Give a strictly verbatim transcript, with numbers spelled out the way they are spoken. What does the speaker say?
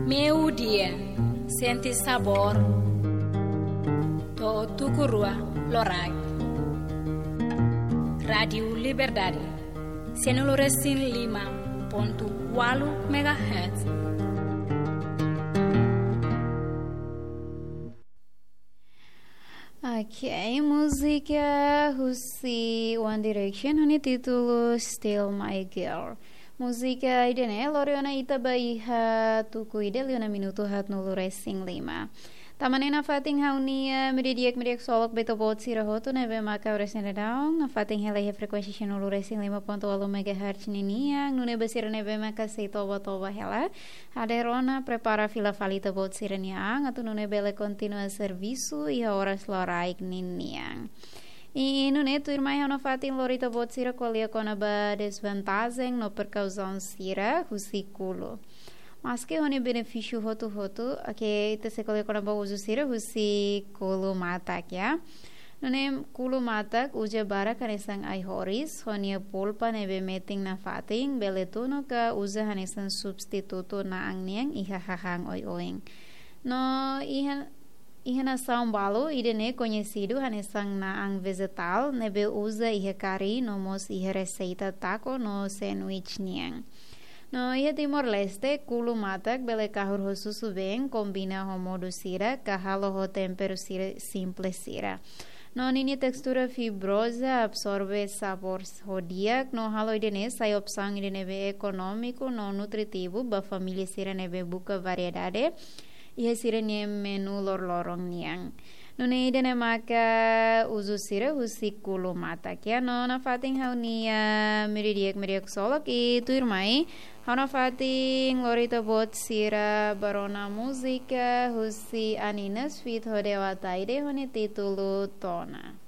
Meiudia, sente sabór to'o tuku rua loraik. Rádiu Liberdade, sianulu resin lima pontu ualu megahertz. Ok, múzika husi One Direction ho nia títulu Still My Girl. Múzika ida-ne'e lori ona ita ba iha tuku ida liu ona minutu haatnulu resin lima. Tanba ne'e nafatin ha'u-nia meiudia di'ak, meiudia di'ak ksolok ba ita-boot sira hotu ne'ebé maka oras ne'e daudaun nafatin hela iha frekuénsia sianulu resin lima pontu ualu megahertz ninian, nune'e ba sira ne'ebé maka sei toba-toba hela, hadeer ona, prepara fila fali ita-boot sira-nia an, atu nune'e bele kontinua servisu iha oras loraik ninian. I nune'e tuirmai ha'u nafatin lori ita-boot sira ko'alia kona-ba dezvantajen no prekauzaun sira husi kulu. Maske ho nia benefísiu hotu-hotu, oke, ita sei ko'alia kona-ba uzu sira husi kulu matak, ya. Nune'e kulu matak uza barak hanesan ai-horis, ho nia polpa ne'ebé metin nafatin, bele tunu ka uza hanesan substitutu na'an nian iha hahán oioin. No iha, iha nasaun balu, ida-ne'e koñesidu hanesan na'an vejetál, ne'ebé uza iha kari, no mós iha reseita taco no sándwich nian. No iha Timor-Leste, kulu matak bele kahur ho susubeen, kombina ho modo sira, ka halo ho temperu sira simples sira. No ninia testura fibroza, absorve sabór s-, ho di'ak, no halo ida-ne'e sai opsaun ida ne'ebé ekonómiku no nutritivu ba família sira ne'ebé buka variedade iha sira-nia menu loroloron nian. Nune'e ida-ne'e maka uzu sira husi kulu matak, ya. No nafatin ha'u-nia meiudia di'ak, meiudia di'ak ksolok, i tuirmai ha'u nafatin lori ita-boot sira ba rona múzika husi Aninas feat Hode Wataide ho nia títulu Tona.